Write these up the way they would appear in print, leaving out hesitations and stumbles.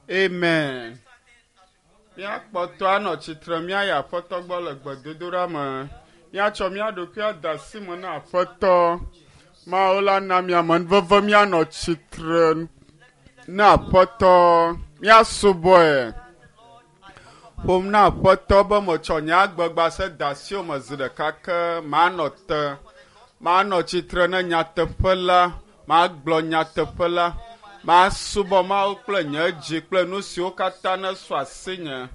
Amen. Míakpɔtɔ anɔ tsitre míayi Aƒetɔ gbɔ le gbedodoɖa me. Míatsɔ mía ɖokui ade asi me na Aƒetɔ. Mawu la na mía amenuveve míanɔ tsitre na Aƒetɔ. Míasubɔe. Ƒom na Aƒetɔ be metsɔ nye agbegbase de asiwò me zi ɖeka ke manɔ te. Manɔ tsitre ne nyateƒe la, magblɔ nyateƒe la. Masubɔ Mawu kple nye dzi kple nu siwo katã nesu asinye.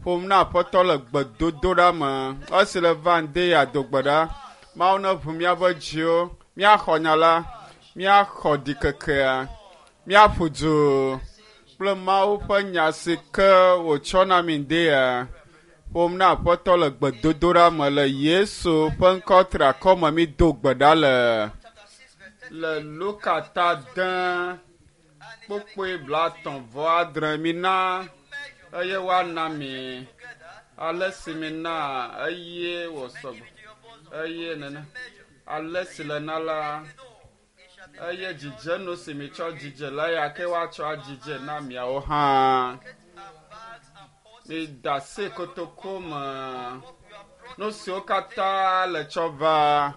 Ƒom na Aƒetɔ le gbedodoɖa me. Esi le va ŋdi ya do gbe ɖa. Mawu neʋu míaƒe dziwo, míaxɔ nya la, míaxɔ ɖikekea, míaƒu du kple Mawu ƒe nya si ke wòtsɔ na mí ŋdi ya. Ƒom na Aƒetɔ le gbedodoɖa me le Yesu ƒe ŋkɔ triakɔ me mído gbe ɖa le. Le Luka ta de kpukpui 39 mina eye woana mi ale si mina eye wòsɔ gbɔ eye nene ale si le na la eye dzidzenu si mitsɔ dzidze la ya ke woatsɔ adzidze na miawo hã. Mida asi kotoku me nu siwo katã le tsɔ va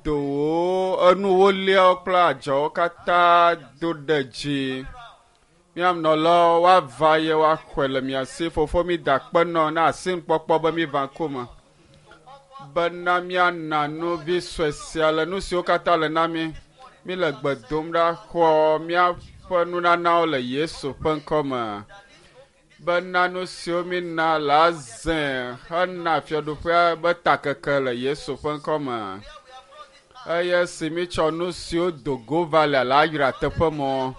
dowo, enuwoliawo kple adzɔwo katã do ɖe dzi. Mía nɔlawo woava ye woaxɔe le mia si. Fofo mida akpe nɔ na asinukpɔkpɔ be míva ŋkume bena míana nu vi sue sia le nu siwo katã le na mí. Míle gbe dom ɖa xɔ míaƒe nunanawo le Yesu ƒe ŋkɔ me bena nu siwo mína la zẽ hena fiaɖuƒea be takeke le Yesu ƒe ŋkɔ me. Eye si mítsɔ nu siwo do go va le la yra teƒe mɔ.